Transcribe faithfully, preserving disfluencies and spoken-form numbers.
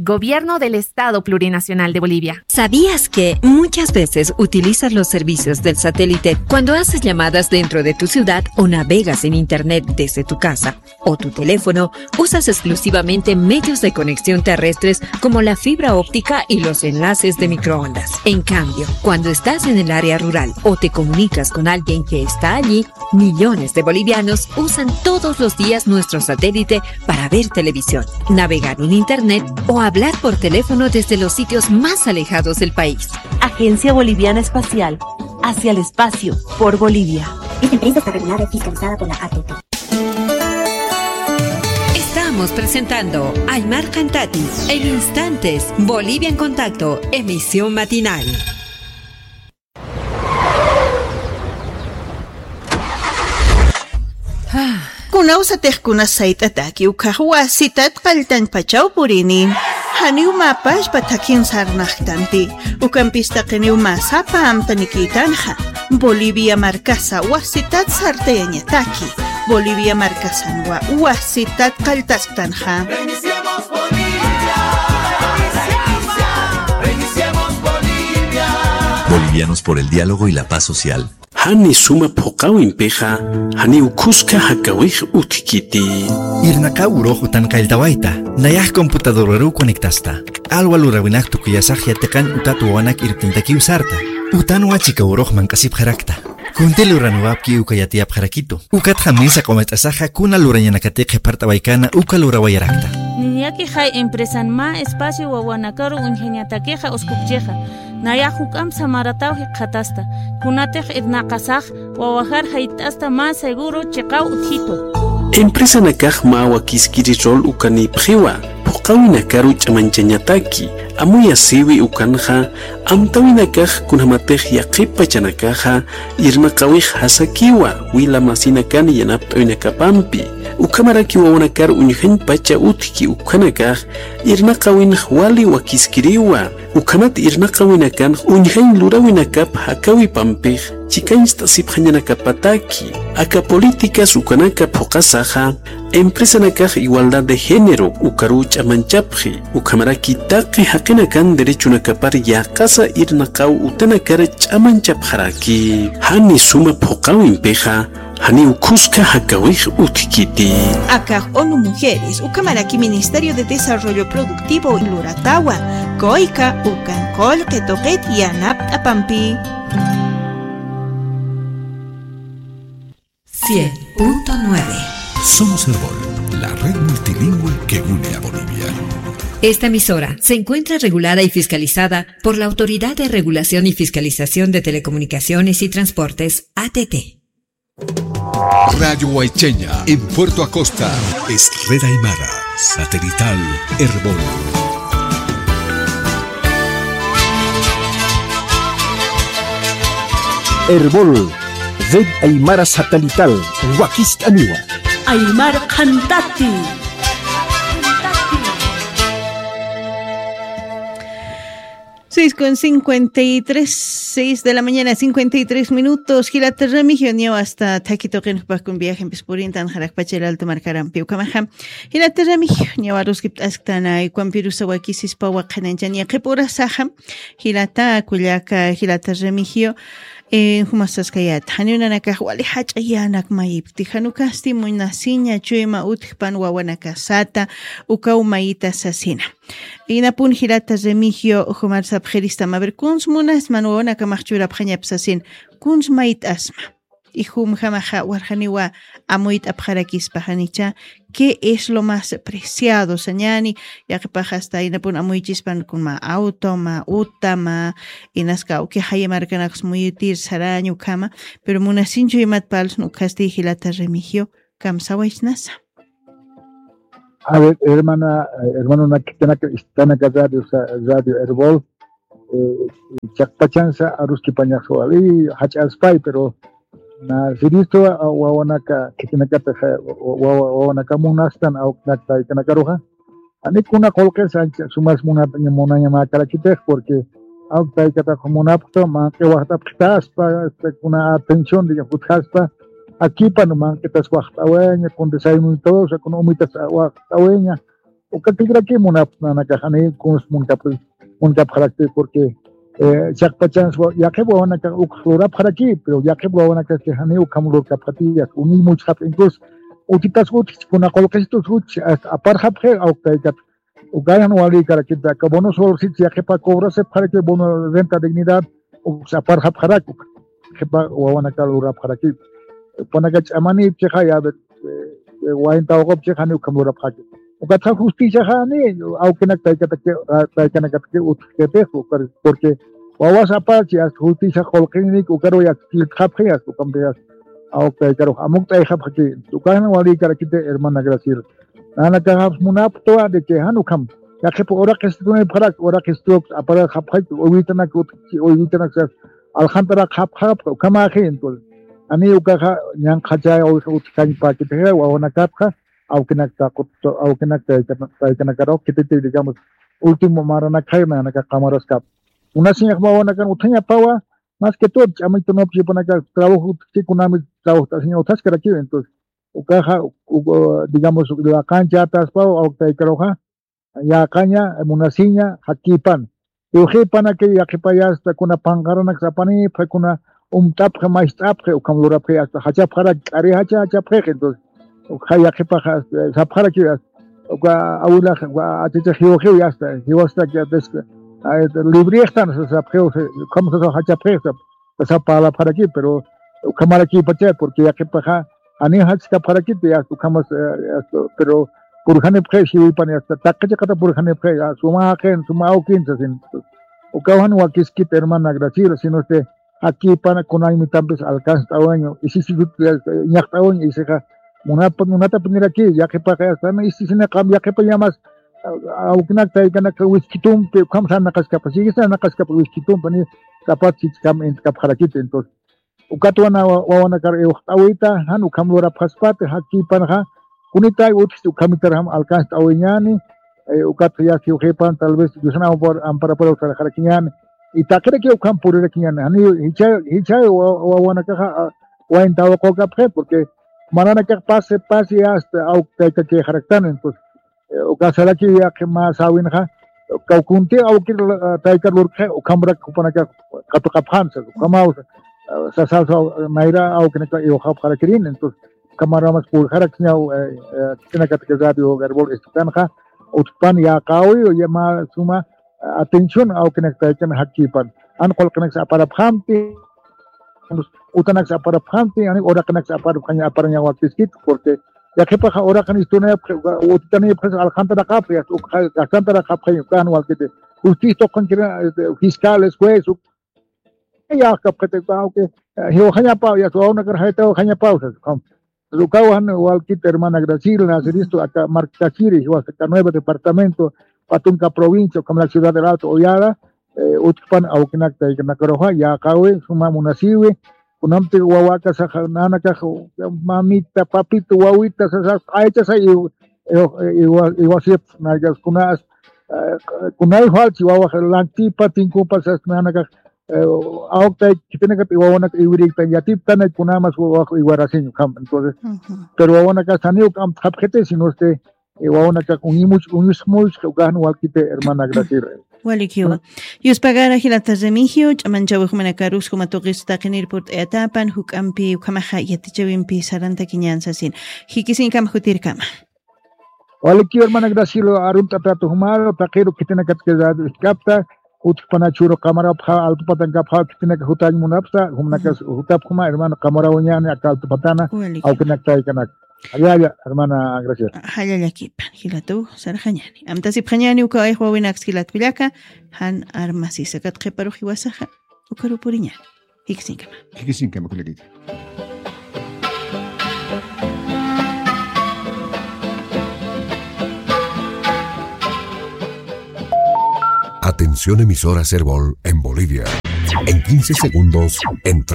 Gobierno del Estado Plurinacional de Bolivia. ¿Sabías que muchas veces utilizas los servicios del satélite cuando haces llamadas dentro de tu ciudad o navegas en Internet desde tu casa o tu teléfono? Usas exclusivamente medios de conexión terrestres como la fibra óptica y los enlaces de microondas. En cambio, cuando estás en el área rural o te comunicas con alguien que está allí, millones de bolivianos usan todos los días nuestro satélite para ver televisión, navegar en Internet o hablar por teléfono desde los sitios más alejados del país. Agencia Boliviana Espacial, hacia el espacio, por Bolivia. Esta empresa está regulada y fiscalizada por la A T T. Estamos presentando Aymar Cantati en instantes, Bolivia en Contacto, emisión matinal. Kunawsatix kunas sayt'ataki ukhax wasitat qalltañpachaw purini. Janiw mä pachpa thakhin sarnaqtanti. Ukampis taqiniw mä sapa amtanikïtanxa. Bolivia markasa wasitat sartayañataki. Bolivia markasanwa wasitat qalltasktanxa. Bolivianos por el diálogo y la paz social. Jani suma phuqawimpixa, janiw khuska jakawix utjkiti. Irnaqaw urux utan qalltawayta, nayax computadoraruw conectasta. Alwa luräwinaq tukuyasax yatiqan utat wawanak irpintakiw sarta. Utanwa chika urux manq'asipxarakta. Kunti luranwapki uka yatiyapxarakitu. Ukatxa mesa q'umach'asaxa kuna lurañanakatix qhipart'awaykana uka lurawayarakta. Niñakixay empresan mä espacio wawanakaru uñjañatakixa uskupchixa. Nayax juk'amp samarataw jikxatasta. Kunatix irnaqasax wawajar jayt'asta mä seguro chiqaw utjitu. Empresanakax mä wakiskiri rol ukanïpxiwa, phuqawinakaru ch'amañchañataki, amuyasïwi ukanxa, amtäwinakax kunjamatix yaqhip pachanakaxa, irnaqawix jasakiwa, wila masinakan yanapt'awinakapampi, ukhamaraki wawanakar uñjañ pacha utjki ukhanakax, irnaqawinx wali wakiskiriwa, ukhamat irnaqawinakanx uñjañ luräwinakap jakawipampix chikañcht'asipxañanakapataki. Aka políticas ukanaka phuqasaxa, empresanakax igualdad de género ukaruw ch'amañchapxi, ukhamaraki taqi jaqinakan derechonakapar yäqasa irnaqaw utanakar ch'amañchapxaraki. Jani suma phuqawimpixa, janiw khuska jakawix utjkiti. Akax ONU Mujeres, ukhamaraki Ministerio de Desarrollo Productivo luratawa, kuyka ukan qullqi tuqit yanapt'apampi. Cien punto nueve. Somos Erbol, la red multilingüe que une a Bolivia. Esta emisora se encuentra regulada y fiscalizada por la Autoridad de Regulación y Fiscalización de Telecomunicaciones y Transportes, A T T. Radio Huaycheña, en Puerto Acosta, es Red Aymara, satelital Erbol. Erbol, Red Aymara Satelital, wakist'aniwa. Aymar Qhantati. Seis con cincuenta y tres, seis de la mañana, cincuenta y tres minutos. Jilata Remigio, niyaw asta thakhi tuqin jupax kun viajempis purintan jarakpacha El Alto markarampi. Ukhamaxa, jilata Remigio, niyaw aruskipt'asktan, ukhampirusa wakisispa waqhinañchan yaqhip urasaxa. Jilata, kullaka, jilata Remigio, eh, jumasaskayät. Janiw nanakax wali jach'a yänak mayipkti. Jan ukasti munasiña chuyma utjpan wawanakasata, ukaw mayita sasina. Inapun jilata Remigio, jumar sapxiristama. A ver, kuns munasman wawanakamax churapxañap sasin, kuns mayt'asma. Y jumjamaxa warxaniwa amuyt'apxarakispa janicha, ¿qué es lo más preciado? Sañani, yaqhipax asta inapun amuychispan kun mä auto, mä uta, mä inaska awki jaya markanakas muyutir saraña ukhama, pero munasinchu imat parlsna ukhasti jilata Remigio, kamsawaychnasa. A ver, hermana, eh, hermano, una que tiene que está en la radio, o sea, Radio Erbol, eh, chaqpachansa aruskipañaxwa, y hach'aspay, pero na siristo, ah, wawanaka, que tiene que teja, wa-, wa-, wawanaka munastan, awknak taykanakaruxa. Ani kuna qullqis ancha sumas muna-, munañamäkarakitix, porque awk taykatax munapxta, manq'i waxt'apxtaspa, este, kuna atención de jutjaspa, akipan manqitas waxt'awaña, con desayuno y todo, o sea, con umitas waxt'awaña, Uka killkiraki munap nanakax jani kuns munkap-, munkapxaraki, porque, eh, chiqpachansa wa-, yaqhip wawanakax ukx lurapxaraki, pero yaqhip wawanakax jani ukham lurkapxati, uñimuchxapxi, incluso utitas utjchi, kuna qullqisitus utjchi, hasta aparxapxi, awk taykat. Ukayan walïkarakiti, aka bono social sitio yaqhipa cobrasipxaraki, bono renta dignidad, uksa aparxapxaraki, yaqhipa wawanaka lurapxaraki. Jupanaka ch'amanïpchixa, ya, eh, eh, wayn tawaqupchixa, jani ukham lurapxaraki. Ukatxa justiciaxa jani, awkinak taykatak-, ah, taykanakataki utjkitix, ukar-, porque wawas aparchi, hasta justicia qullqinïk, ukaruw ya killkxapxi, hasta ukampi, hasta awk taykarux amukt'ayxapxaki. Ukayan walïkarakiti, hermana Graciela. Nanakaxaps munapxtwa de que jan ukham. Yaqhip uraqistunipxarak, uraqistuk, aparxapxay, uywitanak utjchi, uywitanak sas, alxantaraqxapxapxa, ukhamäxi, entonces. Jani ukaxa, ñanqhachäwi utjkañpäkitixa, wawanakatxa, awkinak taqut, awkinak taykan-, taykanakarux, khititi, digamos, último maranakxay, nanakax qamaraskap. Munasiñax wawanakan utjañapawa, más que todo, ch'amaytunupchi jupanaka trabajo utjchi, kunami trabajt'asiña utjaskarakiw, entonces. Ukaxa, u-, u-, digamos, laqanchataspaw, awk taykaruxa, yäqaña, munasiña, jakkipan. Jiwxipanaki yaqhipayasta, kuna panqaranak sapanipxi, kuna umt'apxi, mayst'apxi, ukham lurapxi, hasta jachapxarak, k'ari jacha jachapxix, entonces, ukxa yaqhipaxa, eh, sapxaraki, uka awilax, uka achachax jiwxiw, ya está, jiwastak, ya des-, ah, librextan, sa-, sapxiw, sa-, ukham sasa jachapxix, sap-, sasa parlapxaraki, pero ukhamarakipacha, porque yaqhipaxa, jani jachkapxarakiti, ya, ukhamas, eh, ya, pero purjanipxi, jiwipan, ya, taqi chiqata purjanipxi, ya, suma jaqin, suma awkin, sasin. Ukaw jan wakiskit, hermana Graciela, sino este, jakkipana kunaymitapis alcanzt'awaña, isisisut, ya, ñaqt'awaña, isixa, munapa-, munatapiniraki, yaqhipaxa, ya, sami isisina qam, yaqhipa yamas, a-, awkinak taykanak wiskitumpi, ukham sarnaqaskapa, sigi sarnaqaskapa wiskitumpi, ni kapat chichkam intkapxarakiti, entonces. Ukatwa na wa-, wawanakar iwxt'awita, jan ukham lurapxaspati, jakkipanxa, kunitay utjchi ukhamitarjam alcanzt'awiñäni, eh, ukat ya jiwxipan, tal vez, Diosana ampar-, amparaparu sarxarakiñäni, y taqiraki ukham purirakiñäni, jani jichha, jichha wa-, wawanakaxa, ah, wayn tawaqukapxi, porque maranakax pasi, pasi, hasta awk tayka quejaraktan, entonces, eh, uka saraki yaqhi mä säwinxa, uka kunti awkir, eh, taykar lurkxi, ukhamrak jupanaka katuqapxän, sas, ukhamaw, eh, sasasa, eh, nayra awkinaka iwxapxarakirin, entonces, ukhamaramas purxarakiñaw, eh, eh, khitinakataki Radio Garbol estukanxa, utjpan yäqäwi, ya mä suma, eh, atención, awkinak taykan jakkipan. Jan qullqinaksa aparapxamti, utanaksa aparapxamti, jani uraqinaksa aparapxaña, aparaña wakiskit, porque yaqhipaxa uraqin istunayapxi, utitanayapxi, alxantaraqapxi, ya, uk-, alxantaraqapxi, ukan walkiti. Justicia tuqankira, este, fiscales, juez, uk-, yaqapxiti, aunque, eh, jiwxañapaw, ya, wawanakar jaytawxañapaw, sas, ukham. Ukaw jan walkit hermana Graciela, naceristo, aka markachiri, jiwas aka nuevo departamento, Patunka provincia, ukham la ciudad del Alto Oyara, eh, utjpan awkinak taykanakaruxa, yäqäwi, suma munasiwi, kunamti wawakasaxa, nanakax, mamita, papito, wawita, sasa, aychasa, iw-, iw-, iwa-, iwasip, naykas kunas, eh, kunay falchi, wawax, lantipa, tinkupa, sas, nanakax, eh, awktay, khitinakat, iwawanak, iwirikta, yatiptana, kunamas, wawax, iwarasiñ, ukham. Entonces, pero wawanakas, janiw amtxapxiti, sino este, eh, wawanakax uñimuch-, uñusmuch, ukax jan walkiti, hermana Graciela. Walikiwa. Yuspagara jilata Remigio, ch'amanchawix jumanakaruks juma tuqis taqinir purt'ayatapan, juk'ampi ukhamaxa yatichawimpi sarantakiñän sasin. Jikisiñkama jutirkama. Walikiwa, hermana Graciela, arunt'atatu jumaru, taqiru khitinakatki radio iskapta, utjpana churu qamarapxa, altupatankapxa, khitinaka jutañ munapsa, jumanakas jutapxuma, hermano, qamarawañäni, aka altupatana, awkinak taykanak. Jallalla, hermana Graciela. Jallallakipan, jilatuw sarxañäni. Amtasipxañäni uka ayx wawinaks jilat kullaka, jan armasisa kat qhiparux jiwasaxa, ukaru puriñäni. Jikisiñkama. Jikisiñkama, kullakita. Atención, emisora Serbol en Bolivia. En quince segundos entramos